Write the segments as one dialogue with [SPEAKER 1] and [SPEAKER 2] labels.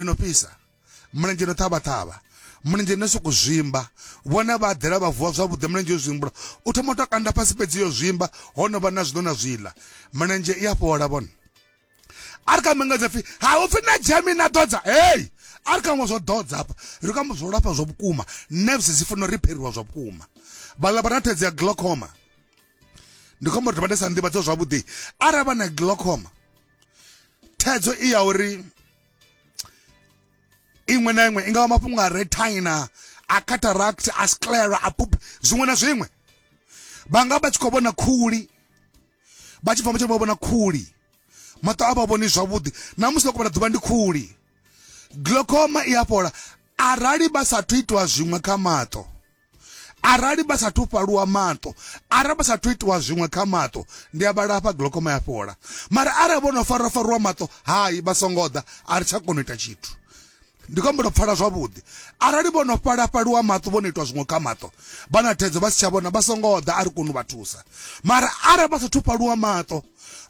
[SPEAKER 1] No fhisa mulenzhe no ṱhavha-ṱhavha mulenzhe no sokou zwimba vhone vha ḓela vha vuwa zwavhuḓi mulenzhe yo zwimbula u thoma u tou kanda fhasi fhedzi yo zwimba ho no vha na zwino na zwiḽa mulenzhe i a fhola vhone a ri kha mengedza pfi ha u pfi na dzhemi na ḓodza hei a ri kha ṅwe zwo ḓodza hafha ri kha zwo lafha zwa vhukuma nerves dzi funa u ripheriwa zwa vhukuma vhaḽa vha na thaidzo ya glaucoma ndi khombo uri vha ndi sa nḓivhadzo zwavhuḓi arali vha na glaucoma thaidzo i ya uri iṅwe na iṅwe i nga vha mafhungo a retina a cataract a sclera a pup zwiṅwe na zwiṅwe vha nga vha tshi khou vhona khuli vha tshi bva mutshelo vha vhona khuli maṱo a vha vhoni zwavhuḓi na musi vha khou vhona ḓuvha ndi khuli glaucoma i a fhola arali vha sathu itiwa zwiṅwe kha maṱo Arali vha sathu fhaluwa maṱo, arali vha sathu itiwa zwiṅwe kha maṱo, ndi a vha lafha glaucoma ya fhola. Mara arali vho no farwa-farwa maṱo, hai, vha songo ḓa, a ri tsha kona u ita tshithu. Ndi khou humbela u pfala zwavhuḓi. Arali vho no fhala-fhaliwa maṱo, vho no itwa zwiṅwe kha maṱo, vha na thaidzo vha si tsha vhona, vha songo ḓa, a ri koni u vha thusa. Mara arali vha sathu fhaluwa maṱo,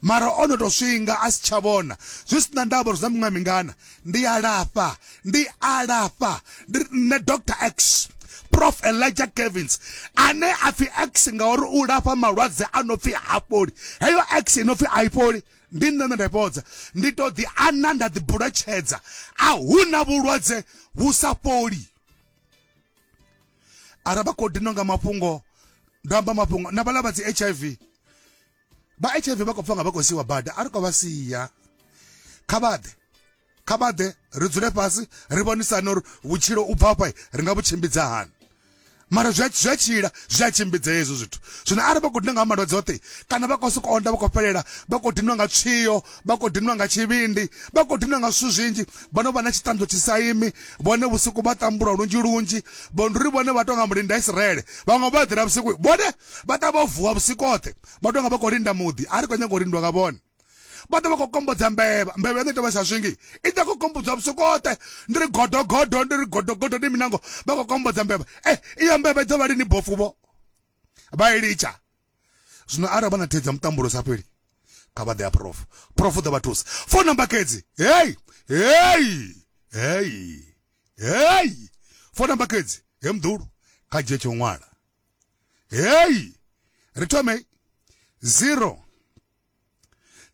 [SPEAKER 1] mara o no tou swinga a si tsha vhona, zwi si na ndavha uri zwi na miṅwaha mingana, ndi a lafha ndi a lafha ndi nṋe Dr X Prof Elijah Kevins ane a pfi X ngauri u lafha malwadze a no pfi ha fholi heyo X ino pfi a i fholi ndi nṋe nṋe nda i fhodza ndi to ḓi ana nda ḓi buletshedza a huna vhulwadze vhu sa fholi arali vha khou dinwa nga mafhungo ndo amba mafhungo na vhaḽa vha dzi HIV vha HIV vha khou pfa nga vha khou siiwa bada a ri khou vha sia kha vha ḓe kha vha ḓe ri dzule fhasi ri vhonisane uri vhutshilo u bva afha ri nga vhu tshimbidza hani mara zwi a tshila zwi a tshimbidza hezwo zwithu zwino arali vha khou dinwa nga malwadze oṱhe kana vha khou sokou onda vha khou fhelela vha khou dinwa nga tswio vha khou dinwa nga tshivhindi vha khou dinwa nga zwithu zwinzhi vha no vha na tshiṱanzo tshi sa imi vhone vhusiku vha tambula lunzhi lunzhi vho ndi uri vhone vha tonga mulinda Israele vhaṅwe vha eḓela vhusiku vhone vha ṱa vho vuwa vhusiku hoṱhe vha tonga vha khou linda muḓi a ri khou nyaga u lindwa nga vhone vha ḓo vha khou kombodza mbevha mbevha yone tovha sa swingi i ḓa khou kombodza vhusiku hoṱhe ndi ri godogodo ndi ri godogodo ndi minango vha khou kombodza mbevha e iyo mbevha i ḓo vha lini bofu vho vha i litsha zwino arali vha na thaidzo ya mutambulo sa fheli kha vha ḓe ya prof prof u ḓo vha thusa phone number kedzi hei hei hei hei phone number kedzi he muḓulu kha dzhie tsho ṅwala hei ri thome 0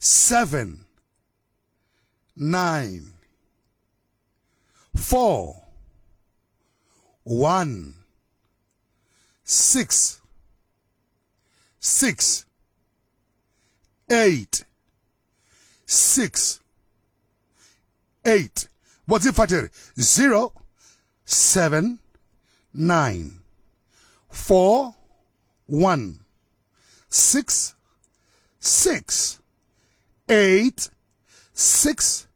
[SPEAKER 1] 7 9 4 1 6 6 8 6 8 vho dzi pfa 0 7 9 4 1 6 6 8 6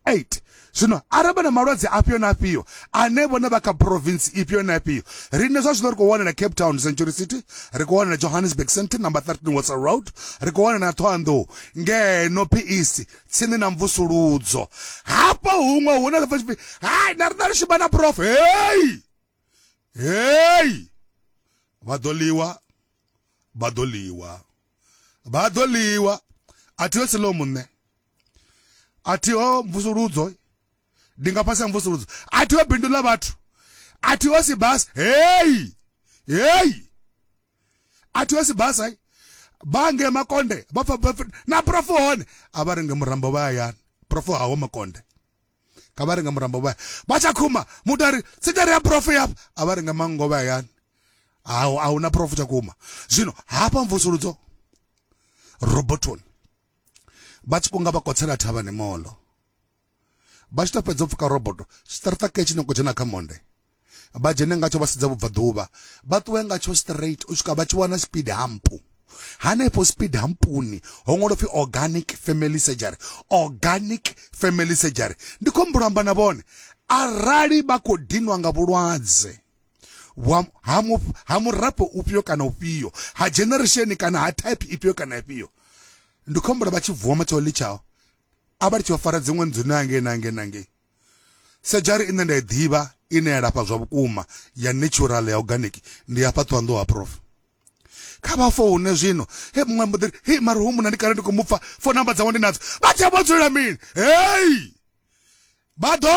[SPEAKER 1] 8 zwino arali vha na malwadze afhio na afhio ane vhone vha kha province ifhio na ifhio riṋe zwa zwino ri khou wanala Cape Town Century City ri khou wanala Johannesburg Center number 13 Watson Road ri khou wanala na Thohoyandou ngeno PEC tsini na mvusuludzo hafha huṅwe hune ḽa pfi hai na riṋe ri shuma na prof hei hei vha ḓo ḽiwa vha ḓo ḽiwa vha ḓo ḽiwa a thi ho silomu nṋe a thi ho mvusuludzo ndi nga fhasi ha mvusuludzo a thi ho bindu ḽa vhathu a thi ho sibasi hei hei a thi ho sibasa vha nge makonde vha pfa na prof hone a vha renge murambo vha hayani prof haho makonde kha vha renge murambo vha vha tsha khuma muthu a ri sigari ya prof yafha a vha renge manngo vha hayani a huna prof tsha khuma zwino hafha mvusuludzo robotoni vha tshi kunga vha kotsela thavhani molo vha tshi to fhedza u pfuka roboto tshiṱaraṱa ke tshi no khou dzhena kha monde vha dzhene ngatsho vha sedza vhubvaḓuvha vha ṱuwe ngatsho straight u swika vha tshi wana speed hump hanefho speed humpuni ho ṅwalwa pfi organic family surgery organic family surgery ndi khou humbula amba na vhone arali vha khou dinwa nga vhulwadze ha murafho ufhio kana ufhio ha generation kana ha type ifhio kana ifhio ndi khou humbula vha tshi vuwa matshelo ḽitshaho a vha ri tshi vha fara dziṅwe nnḓu na ngei na ngei na ngei sedzhari ine nda i ḓivha ine ya lafha zwa vhukuma ya natural ya organic ndi ya fhaṱwa nnḓu ha prof kha vha foune zwino he muṅwe mbo ḓi he mara hu munna ndi kale ndi khou mu pfa phone number dzawe ndi nadzo vha tsha vho dzulela mini hei. Vha ḓo.